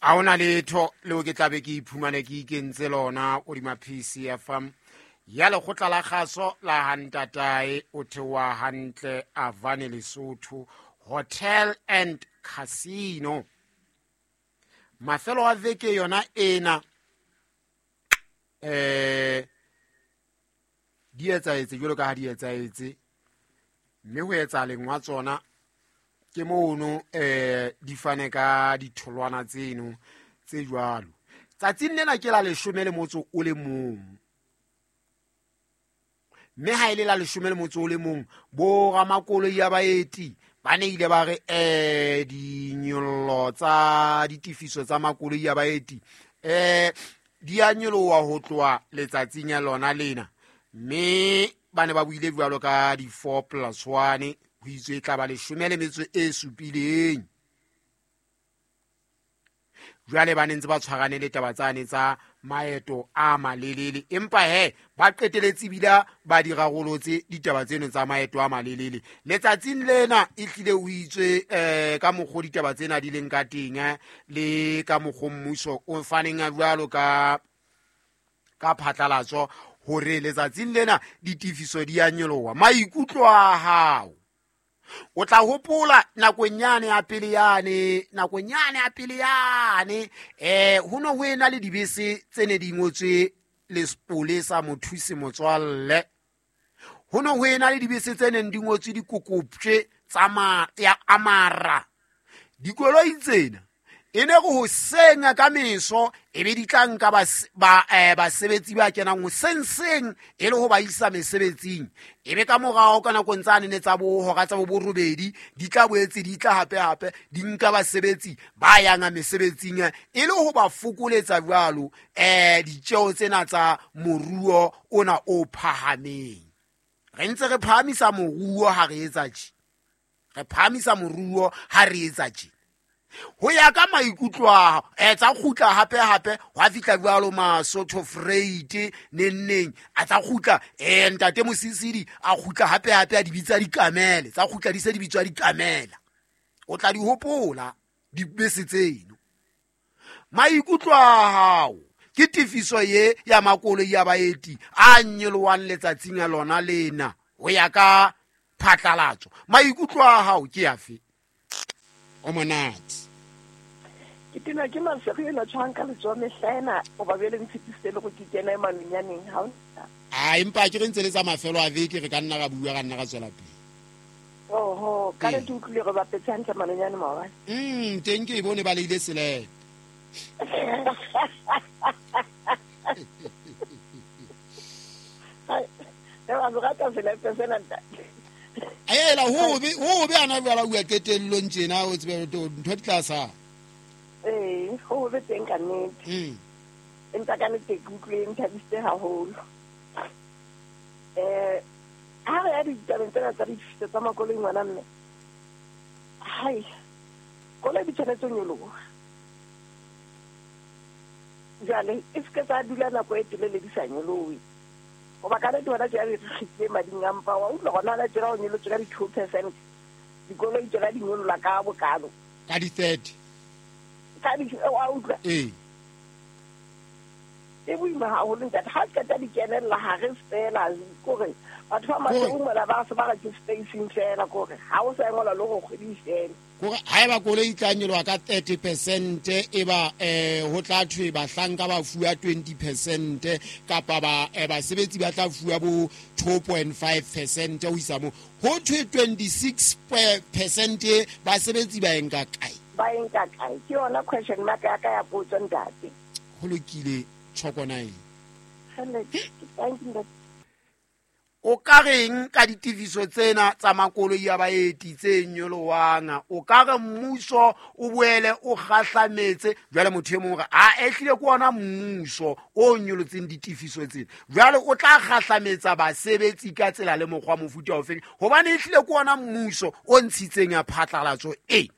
A hona letho leo ke tlabe ke iphumane ke ikentse lona hodima PCFM ya lekgotla la kgaso la hantatae o theoha hantle Avane Lesotho Hotel and Casino. Mafelo a veke yona ena di etsaetse jwalo ka ha di etsaetse, mme ho etsahaleng wa tsona ke mono di fane ka ditholwana tseno tse jwalo. Tsatsing lena ke la 11, mme ha e le la 11 bo ramakoloi ya baeti ba ne ile ba re dinyollo tsa ditefiso tsa makoloi ya baeti di a nyoloha ho tloha letsatsing ya lona lena, mme ba ne ba buile jwalo ka di 4 plus 1 ho itswe e tla ba 17. Jwale ba ne ntse ba tshwarane le taba tsane tsa maeto a malelele, empa he ba qeteletse bila ba di rarolotse ditaba tseno tsa maeto a malelele. Letsatsing lena e hlile o itswe ka mokgwa ditaba tsena di leng ka teng le ka mokgwa mmuso o faneng a jwalo ka phatlalatso hore letsatsing lena ditefiso di a nyoloha. Maikutlo a hao o tla hopola nakong yane ya pele yane, nakong yane ya pele yane ho no ho ena le dibese tse ne di ngotswe Lepolesa Mothusi Motswalle, ho no ho ena le dibese tse neng di ngotswe dikokopje tsa ya Amara. Dikoloi tsena e ne re hoseng ka meso e be di tla nka basebetsi ba kenang hoseng seng e le ho ba isa mesebetsing, e be ka morao ka nakong tsa nene tsa bo hora tsa bo borobedi di tla boetse di tla hape hape di nka basebetsi ba yang mesebetsing e le ho ba fokoletsa jwalo ditjeo tsena tsa moruo ona o phahameng. Re ntse re phahamisa moruo ha re etsa tje, re phahamisa moruo ha re etsa tje. Ho ya ka maikutlo a hao tsa kgutla hape hape hwa fihla jwalo Masotho Freight nenneng a tsa kgutla ntate Mosisidi a kgutla hape hape a di bitsa dikamele, tsa kgutla di se di bitswa dikamela. O tla di hopola dibese tseno. Maikutlo a hao ke tefiso ye ya makoloi ya baeti a nyolohang letsatsing la lona lena ho ya ka phatlalatso. Maikutlo a hao ke afe? O monate. Ke tena ke masego ena tshwang ka letsoho mehla ena o ba bele ntshepisitse le go ke kena e manonyaneng ha o a empa ke re ntse le tsa mafelo a veke re ka nna ra bua ra nna ra tswela pele. Oho, ka le ke utlwile re bapetse hantle manonyane maobane. Teng ke e bone ba leile selepe. Ba rata selepe sena ntate. Ela ho be ana jwala bua qetellong tjena o tsebe ntho di tla sa. Ho be teng ka nnete. Empa ka nnete ke utlwile nthabisitse haholo. Ha re ya ditabeng tsena tsa ditefiso tsa makoloi ngwana mme. Hai, koloi di tshwanetse ho nyoloha. Jwale e se ke tsa dula nako e telele di sa nyolohe. Hoba ka nnete hona tjena re kgitlile mading a mpa, wa utlwa hona la tjena ho nyolotswe ka di-2%. Dikoloi tsona di nyolola ka bokalo. Ka di-30. Ka di wa utlwa? Ee. E boima haholo ntate, ha qeta di kenella ha re fela kore batho ba Maseru mona ba se ba re ke spacing fela kore ha o sa ngola le go kgwedi fela. Kore ha eba koloi e tla nyoloha ka 30% e ba ho tla thwe bahlanka ba fuwa 20% kapa ba basebetsi ba tla fuwa bo 2.5% ho isa mo ho thwe 26% basebetsi ba enka kae? Ba enka kae? Ke yona question mark ya ka ya potso ntate. Ho lokile tjhoko nine. Thank you. O ka reng ka ditefiso tsena tsa makoloi a baeti tse nyolohang? O ka re mmuso o boele o kgahlametse? Jwale motho e mong re a ehlile ke ona mmuso o nyolotseng ditefiso tsena, jwale o tla kgahlametsa basebetsi ka tsela le mokgwa mofuta ofeng? Hobane ehlile ke ona mmuso o ntshitseng ya phatlalatso e.